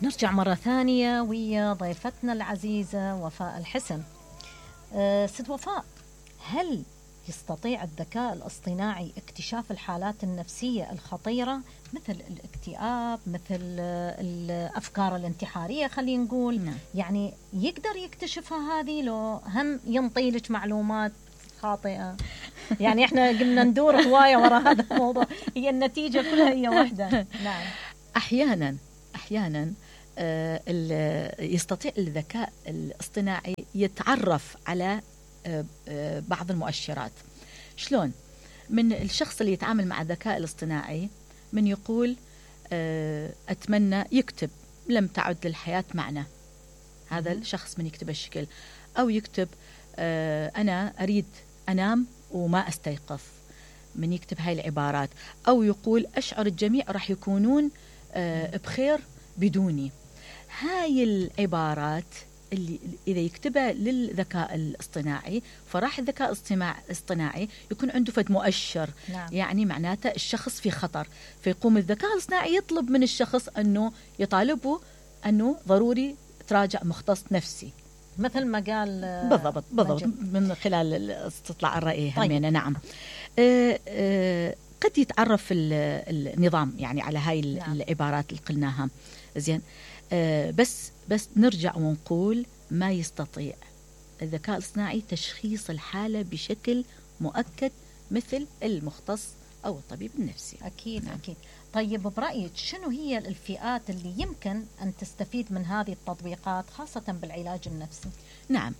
نرجع مرة ثانية ويا ضيفتنا العزيزة وفاء الحسن. ست وفاء، هل يستطيع الذكاء الاصطناعي اكتشاف الحالات النفسية الخطيرة مثل الاكتئاب، مثل الأفكار الانتحارية خلينا نقول؟ نعم. يعني يقدر يكتشفها هذه لو هم ينطي لك معلومات خاطئة؟ يعني احنا قلنا ندور هواية وراء هذا الموضوع، هي النتيجة كلها هي واحدة. نعم. أحيانا يستطيع الذكاء الاصطناعي يتعرف على بعض المؤشرات. شلون؟ من الشخص اللي يتعامل مع الذكاء الاصطناعي من يقول أتمنى يكتب لم تعد للحياة معنى، هذا الشخص من يكتب الشكل، أو يكتب أنا أريد أنام وما أستيقظ، من يكتب هاي العبارات، أو يقول أشعر الجميع راح يكونون بخير بدوني. هاي العبارات اللي إذا يكتبها للذكاء الاصطناعي فراح الذكاء الاصطناعي يكون عنده فد مؤشر. نعم. يعني معناته الشخص في خطر، فيقوم الذكاء الاصطناعي يطلب من الشخص أنه يطالبه أنه ضروري تراجع مختص نفسي، مثل ما قال بالضبط من خلال استطلاع الرأي. طيب. نعم. قد يتعرف النظام يعني على هاي العبارات اللي قلناها زين. بس نرجع ونقول ما يستطيع الذكاء الاصطناعي تشخيص الحالة بشكل مؤكد مثل المختص أو الطبيب النفسي. أكيد. نعم. أكيد. طيب برأيك شنو هي الفئات اللي يمكن أن تستفيد من هذه التطبيقات خاصة بالعلاج النفسي؟ نعم،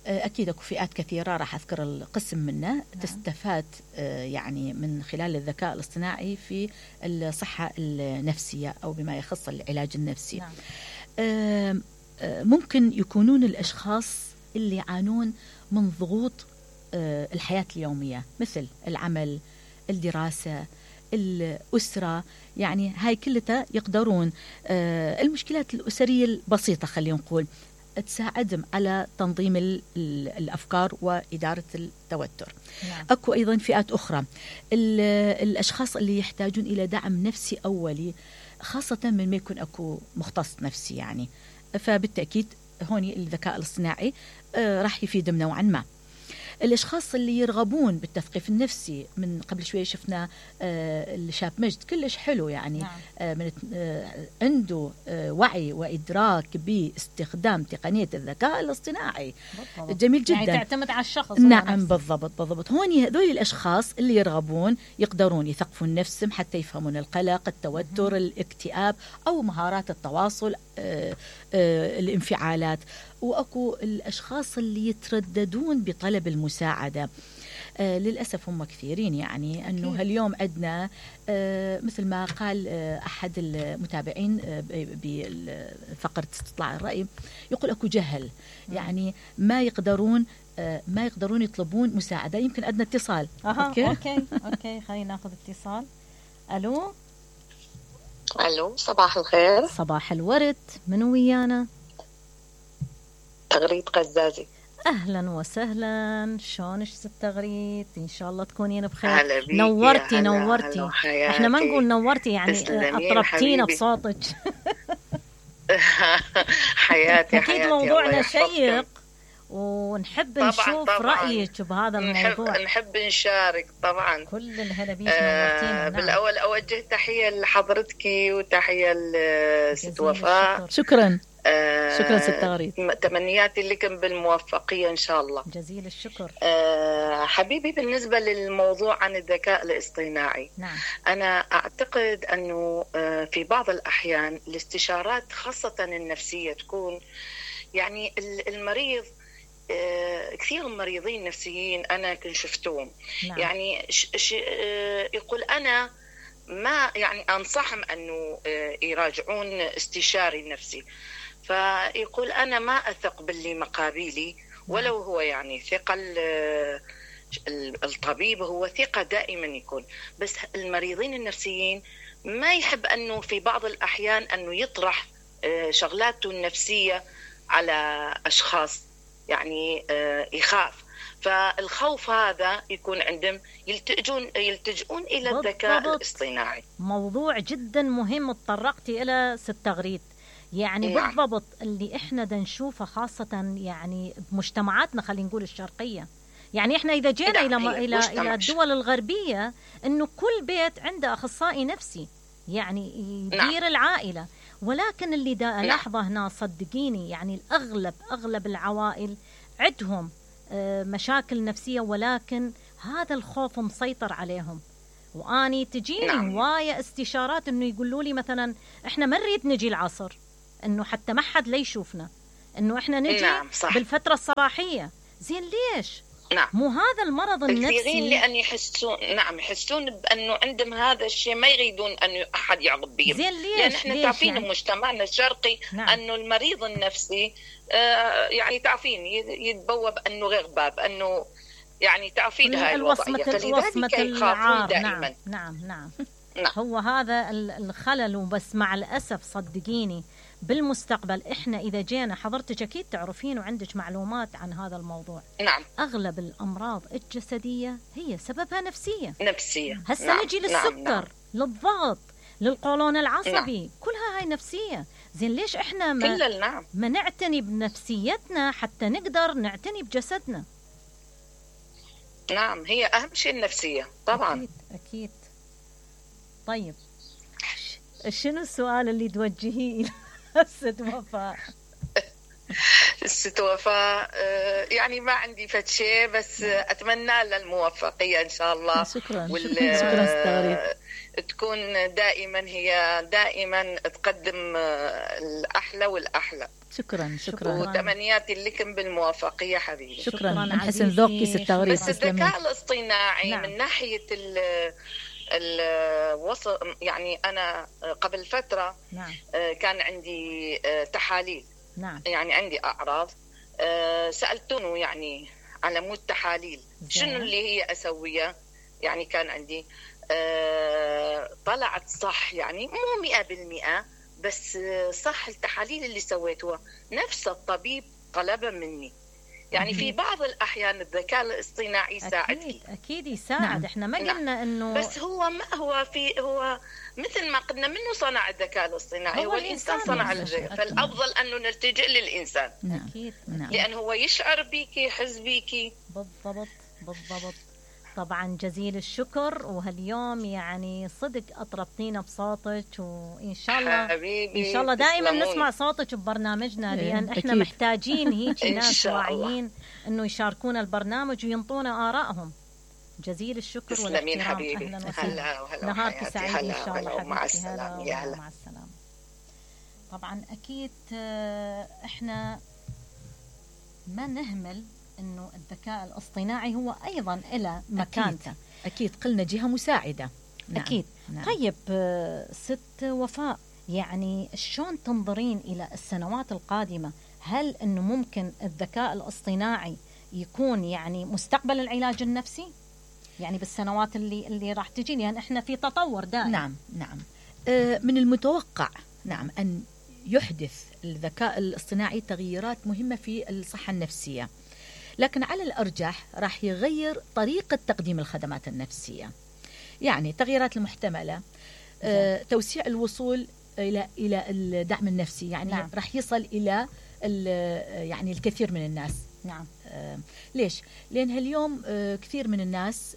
أكيد أكو فئات كثيرة، راح أذكر القسم منها. نعم. تستفاد يعني من خلال الذكاء الاصطناعي في الصحة النفسية أو بما يخص العلاج النفسي. نعم. ممكن يكونون الأشخاص اللي يعانون من ضغوط الحياة اليومية مثل العمل، الدراسة، الأسرة، يعني هاي كلها يقدرون المشكلات الأسرية البسيطة خلينا نقول تساعدهم على تنظيم الأفكار وإدارة التوتر. نعم. أكو أيضا فئات أخرى، الأشخاص اللي يحتاجون إلى دعم نفسي أولي، خاصة من ما يكون أكو مختص نفسي يعني، فبالتأكيد هوني الذكاء الاصطناعي راح يفيدهم نوعا ما. الأشخاص اللي يرغبون بالتثقيف النفسي، من قبل شوية شفنا الشاب مجد كلش حلو يعني. نعم. من عنده وعي وإدراك باستخدام تقنية الذكاء الاصطناعي. بالضبط. جميل جدا. يعني تعتمد على الشخص. نعم بالضبط. هوني هذول الأشخاص اللي يرغبون يقدرون يثقفون نفسهم حتى يفهمون القلق، التوتر، الاكتئاب، أو مهارات التواصل، الانفعالات. وأكو الأشخاص اللي يترددون بطلب المساعدة، للأسف هم كثيرين يعني. أنه اليوم عندنا مثل ما قال أحد المتابعين بفقرة استطلاع الرأي، يقول أكو جهل، يعني ما يقدرون يطلبون مساعدة. يمكن عندنا اتصال. أوكي خلينا ناخذ اتصال. ألو، صباح الخير. صباح الورد، منو ويانا؟ تغريد قزازي. أهلا وسهلا، شلونش ست تغريد؟ إن شاء الله تكونين بخير. نورتي. إحنا ما نقول نورتي يعني أطربتينا بصوتك. حياتي. أكيد موضوعنا شيق ونحب نشوف رأيك بهذا الموضوع. نحب نشارك طبعا. كل الهلا بيك، نورتينا. بالأول أوجه تحية لحضرتك وتحية لست وفاء. شكرا ست تغريد. تمنياتي لكم بالموفقية إن شاء الله. جزيل الشكر. حبيبي، بالنسبة للموضوع عن الذكاء الاصطناعي، نعم. أنا أعتقد أنه في بعض الأحيان الاستشارات خاصة النفسية تكون يعني المريض، كثير مريضين نفسيين أنا كنت شفتهم. نعم. يعني يقول أنا ما يعني أنصحهم أنه يراجعون استشاري نفسي، فيقول أنا ما أثق باللي مقابلي، ولو هو يعني ثقة الطبيب هو ثقة دائما يكون، بس المريضين النفسيين ما يحب أنه في بعض الأحيان أنه يطرح شغلاته النفسية على أشخاص، يعني يخاف. فالخوف هذا يكون عندهم يلتجؤون إلى الذكاء الاصطناعي. موضوع جدا مهم تطرقتي إلى ست تغريد. يعني نعم. بالضبط اللي احنا دا نشوفه خاصة يعني بمجتمعاتنا خلينا نقول الشرقية. يعني احنا اذا جينا نعم، الى الدول الغربية انه كل بيت عنده اخصائي نفسي يعني يدير نعم. العائلة، ولكن اللي دا نعم. الاحظه هنا صدقيني يعني اغلب العوائل عندهم مشاكل نفسية، ولكن هذا الخوف مسيطر عليهم. واني تجيني نعم. هواية استشارات انه يقولوا لي مثلا احنا ما نريد نجي العصر، انه حتى ما حد لا يشوفنا، انه احنا نجي نعم، صح. بالفترة الصباحية. زين ليش؟ نعم. مو هذا المرض النفسي كثيرين لأن يحسون بأنه عندهم هذا الشيء، ما يريدون أن أحد يعضب بهم. زين ليش؟ لأن احنا تعرفين يعني؟ مجتمعنا الشرقي نعم. أنه المريض النفسي يعني تعرفين يتبوب أنه غير باب، أنه يعني تعرفين هاي الوضعية، فلذلك يخافون دائما. نعم. نعم. هو هذا الخلل. وبس مع الأسف صدقيني بالمستقبل إحنا إذا جينا، حضرتك أكيد تعرفين وعندك معلومات عن هذا الموضوع. نعم. أغلب الأمراض الجسدية هي سببها نفسية. هسه نعم. نجي للسكر، نعم. للضغط، للقولون العصبي. نعم. كلها هاي نفسية. زين ليش إحنا ما نعتني بنفسيتنا حتى نقدر نعتني بجسدنا؟ نعم، هي أهم شيء النفسية طبعا. أكيد. طيب شنو السؤال اللي توجهيه إلى ست وفاء؟ ست وفاء يعني ما عندي فد شيء، بس أتمنى لها الموفقية إن شاء الله. شكرا. شكرا. تكون دائما تقدم الأحلى والأحلى. شكرا. وتمنياتي لكم بالموفقية حبيبي. شكرا عن حسن ذوقك ست تغريد. بس الذكاء الاصطناعي نعم. من ناحية يعني أنا قبل فترة نعم. كان عندي تحاليل. نعم. يعني عندي أعراض، سألتونه يعني على مود تحاليل شنو اللي هي أسويه. يعني كان عندي طلعت صح، يعني مو 100%، بس صح التحاليل اللي سويتها نفس الطبيب طلبها مني. يعني في بعض الأحيان الذكاء الاصطناعي يساعد. أكيد يساعد. نعم. إحنا ما قلنا إنه، بس هو هو مثل ما قلنا منه صنع الذكاء الاصطناعي، هو الإنسان صنع الذكاء، فالأفضل أنه نلتجئ للإنسان. نعم. أكيد. لأنه هو يشعر بيكي، يحس بيكي. بالضبط. طبعا جزيل الشكر. وهاليوم يعني صدق أطربتينا بصوتك، وإن شاء الله حبيبي إن شاء الله دائما تسلمون. نسمع صوتك ببرنامجنا، لأن إحنا أكيد. محتاجين هيك إن ناس شاء الله. واعيين إنه يشاركونا البرنامج وينطونا آرائهم. جزيل الشكر تسلمين والاحترام. حبيبي. أهلا وسهلا. هلا نهارك سعيد إن شاء الله مع حبيبتي. السلامة. هلا يا هلا. مع السلامة. طبعا أكيد إحنا ما نهمل إنه الذكاء الاصطناعي هو أيضا إلى مكانته. أكيد قلنا جهة مساعدة. نعم. أكيد. نعم. طيب ست وفاء، يعني شلون تنظرين إلى السنوات القادمة؟ هل إنه ممكن الذكاء الاصطناعي يكون يعني مستقبل العلاج النفسي؟ يعني بالسنوات اللي راح تجي، يعني إحنا في تطور دائم. نعم. من المتوقع نعم أن يحدث الذكاء الاصطناعي تغييرات مهمة في الصحة النفسية، لكن على الأرجح راح يغير طريقة تقديم الخدمات النفسية. يعني تغييرات المحتملة، توسيع الوصول إلى الدعم النفسي، يعني نعم. راح يصل إلى يعني الكثير من الناس. نعم. ليش؟ لأن هاليوم كثير من الناس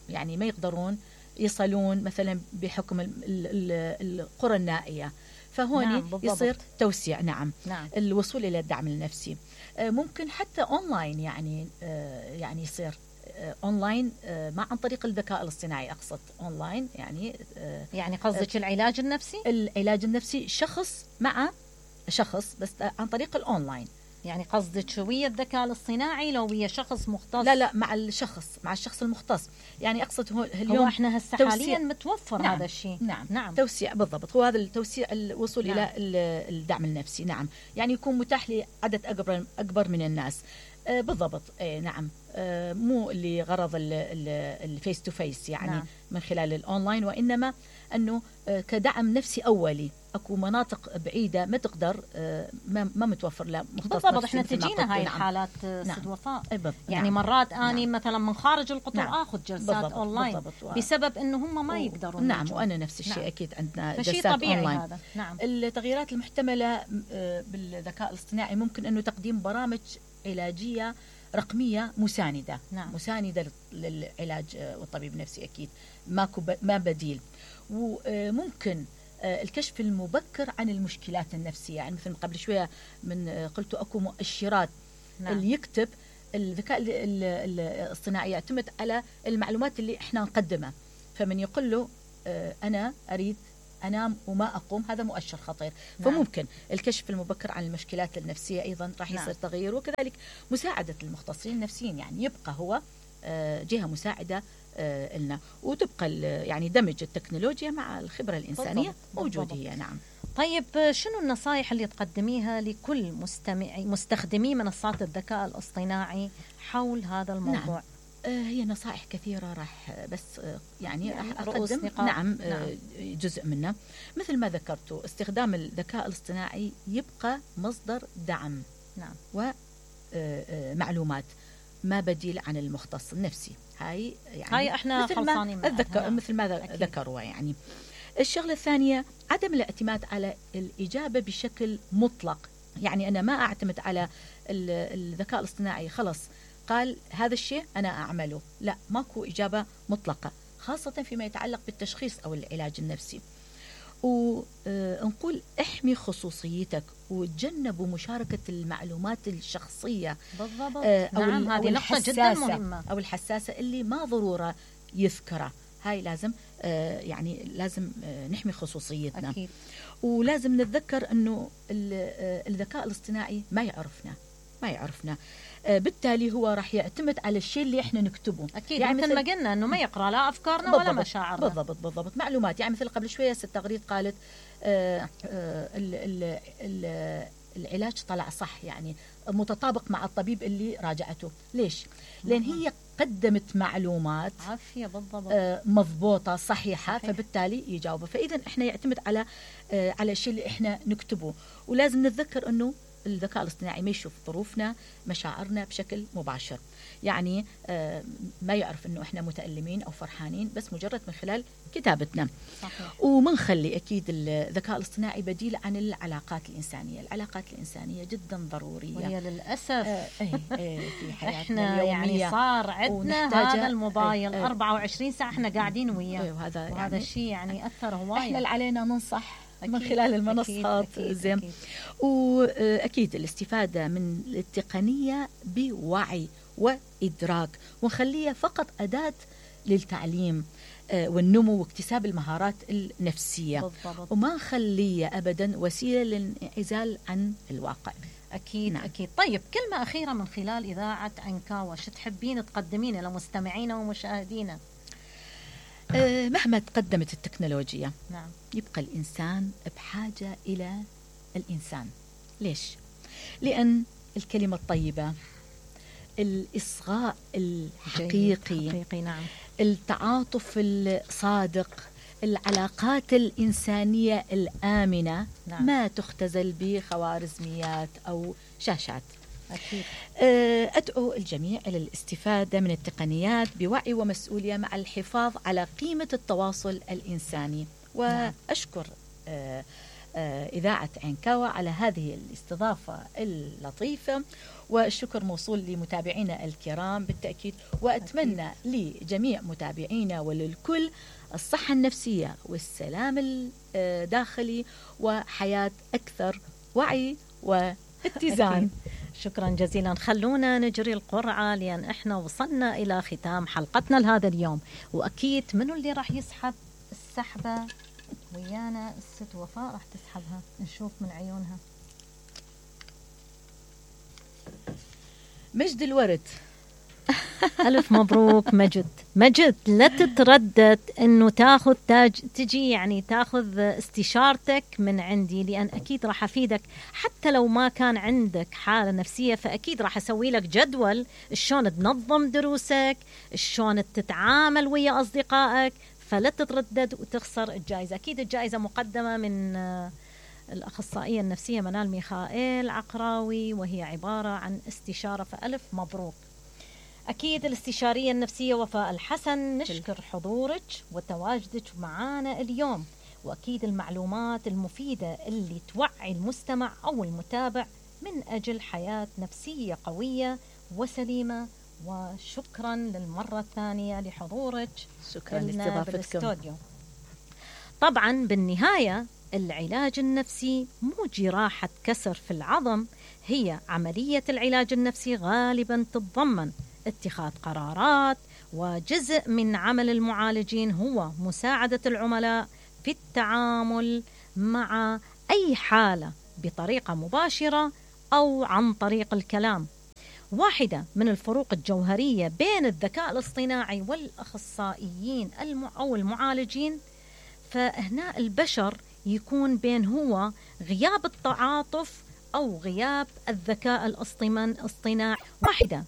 يعني ما يقدرون يصلون مثلا بحكم القرى النائية، فهون نعم يصير توسيع. نعم. الوصول إلى الدعم النفسي ممكن حتى أونلاين، يعني يصير أونلاين عن طريق الذكاء الاصطناعي. أقصد أونلاين يعني قصدك العلاج النفسي؟ العلاج النفسي شخص مع شخص، بس عن طريق الأونلاين. يعني قصدك ويا الذكاء الاصطناعي لو ويا شخص مختص؟ لا مع الشخص المختص. يعني أقصد اليوم هو احنا هسه حاليا متوفر. نعم. هذا الشيء. نعم. توسيع. بالضبط، هو هذا التوسيع، الوصول نعم. إلى الدعم النفسي. نعم. يعني يكون متاح لعدد أكبر من الناس. بالضبط. نعم. مو لغرض الفيس تو فيس يعني نعم. من خلال الأونلاين، وإنما أنه كدعم نفسي أولي. أكو مناطق بعيدة ما تقدر، ما متوفر لها مختص بالضبط. نفسي احنا مثل ما تجينا قلت. هاي نعم. الحالات نعم. سد وفاء. نعم. يعني مرات اني نعم. مثلا من خارج القطر نعم. اخذ جلسات بالضبط. اونلاين بالضبط. بسبب انه هم ما يقدرون نعم. يجون. وانا نفس الشيء. نعم. اكيد عندنا فشي جلسات طبيعي اونلاين. هذا. نعم. التغييرات المحتمله بالذكاء الاصطناعي ممكن انه تقديم برامج علاجيه رقميه مسانده. نعم. مسانده للعلاج والطبيب النفسي. اكيد ما بديل. وممكن الكشف المبكر عن المشكلات النفسيه. يعني مثل ما قبل شويه من قلت اكو مؤشرات. نعم. اللي يكتب الذكاء الاصطناعي يعتمد على المعلومات اللي احنا نقدمها. فمن يقول له انا اريد انام وما اقوم، هذا مؤشر خطير. نعم. فممكن الكشف المبكر عن المشكلات النفسيه ايضا راح يصير. نعم. تغيير. وكذلك مساعده المختصين النفسيين، يعني يبقى هو جهه مساعده لنا، وتبقى يعني دمج التكنولوجيا مع الخبره الانسانيه موجوده هي. نعم. طيب شنو النصائح اللي تقدميها لكل مستخدمي منصات الذكاء الاصطناعي حول هذا الموضوع؟ نعم. هي نصائح كثيرة، راح بس يعني راح رؤوس أقدم. نقاط. نعم. جزء منه مثل ما ذكرتوا، استخدام الذكاء الاصطناعي يبقى مصدر دعم. نعم. ومعلومات، ما بديل عن المختص النفسي. هاي يعني هاي احنا خلصانين أتذكر مثل ما ذكروا. يعني الشغلة الثانية عدم الاعتماد على الإجابة بشكل مطلق. يعني أنا ما أعتمد على الذكاء الاصطناعي خلص قال هذا الشيء أنا أعمله. لا، ماكو إجابة مطلقة، خاصة فيما يتعلق بالتشخيص أو العلاج النفسي. ونقول احمي خصوصيتك وتجنبوا مشاركة المعلومات الشخصية. بالضبط. نعم. هذه نقطة جدا مهمة. أو الحساسة اللي ما ضرورة يذكرها. هاي لازم يعني لازم نحمي خصوصيتنا. أكيد. ولازم نتذكر أنه الذكاء الاصطناعي ما يعرفنا. بالتالي هو راح يعتمد على الشيء اللي احنا نكتبه. أكيد. يعني مثل ما قلنا أنه ما يقرأ لا أفكارنا ولا مشاعرنا. بالضبط. معلومات. يعني مثل قبل شوية ست تغريد قالت العلاج طلع صح، يعني متطابق مع الطبيب اللي راجعته. ليش؟ لأن هي قدمت معلومات عافية. بالضبط. مضبوطة صحيحة. صحيح. فبالتالي يجاوبه. فإذا احنا يعتمد على الشيء اللي احنا نكتبه. ولازم نتذكر أنه الذكاء الاصطناعي ما يشوف ظروفنا مشاعرنا بشكل مباشر. يعني ما يعرف انه احنا متألمين او فرحانين، بس مجرد من خلال كتابتنا. صحيح. ومنخلي اكيد الذكاء الاصطناعي بديل عن العلاقات الانسانيه. العلاقات الانسانيه جدا ضروريه، وهي للاسف في حياتنا احنا اليوميه يعني صار عندنا هذا الموبايل 24 ساعه احنا قاعدين وياه. وهذا يعني الشيء يعني اثر هوايه. احنا اللي علينا ننصح أكيد. من خلال المنصات. زين. واكيد الاستفاده من التقنيه بوعي وادراك، ونخليها فقط اداه للتعليم والنمو واكتساب المهارات النفسيه. بالضبط. وما نخليها ابدا وسيله للانعزال عن الواقع. اكيد. نعم. اكيد. طيب كلمه اخيره من خلال اذاعه عنكاوة، شو تحبين تقدمين لمستمعينا ومشاهدينا؟ مهما تقدمت التكنولوجيا، نعم، يبقى الإنسان بحاجة إلى الإنسان. ليش؟ لأن الكلمة الطيبة، الإصغاء الحقيقي، نعم، التعاطف الصادق، العلاقات الإنسانية الآمنة، نعم، ما تختزل بخوارزميات أو شاشات. أكيد. أدعو الجميع إلى الاستفادة من التقنيات بوعي ومسؤولية مع الحفاظ على قيمة التواصل الإنساني. وأشكر إذاعة عنكاوة على هذه الاستضافة اللطيفة، والشكر موصول لمتابعينا الكرام بالتأكيد. وأتمنى لجميع متابعينا وللكل الصحة النفسية والسلام الداخلي وحياة أكثر وعي واتزان. شكرا جزيلا. خلونا نجري القرعة لأن احنا وصلنا إلى ختام حلقتنا لهذا اليوم، وأكيد منو اللي راح يسحب السحبة ويانا؟ الست وفاء راح تسحبها، نشوف من عيونها. مجد الورد ألف مبروك مجد. مجد لا تتردد أنه تجي يعني تاخذ استشارتك من عندي، لأن أكيد راح أفيدك. حتى لو ما كان عندك حالة نفسية فأكيد راح أسوي لك جدول شلون تنظم دروسك، شلون تتعامل ويا أصدقائك. فلا تتردد وتخسر الجائزة. أكيد الجائزة مقدمة من الأخصائية النفسية منال ميخائيل عقراوي، وهي عبارة عن استشارة. فألف مبروك. أكيد الاستشارية النفسية وفاء الحسن، نشكر حضورك وتواجدك معنا اليوم، وأكيد المعلومات المفيدة اللي توعي المستمع أو المتابع من أجل حياة نفسية قوية وسليمة. وشكرا للمرة الثانية لحضورك. شكرا لاستضافتكم. طبعا بالنهاية العلاج النفسي مو جراحة كسر في العظم، هي عملية العلاج النفسي غالبا تتضمن اتخاذ قرارات، وجزء من عمل المعالجين هو مساعدة العملاء في التعامل مع أي حالة بطريقة مباشرة أو عن طريق الكلام. واحدة من الفروق الجوهرية بين الذكاء الاصطناعي والأخصائيين أو المعالجين، فهنا البشر يكون بين هو غياب التعاطف أو غياب الذكاء الاصطناعي. واحدة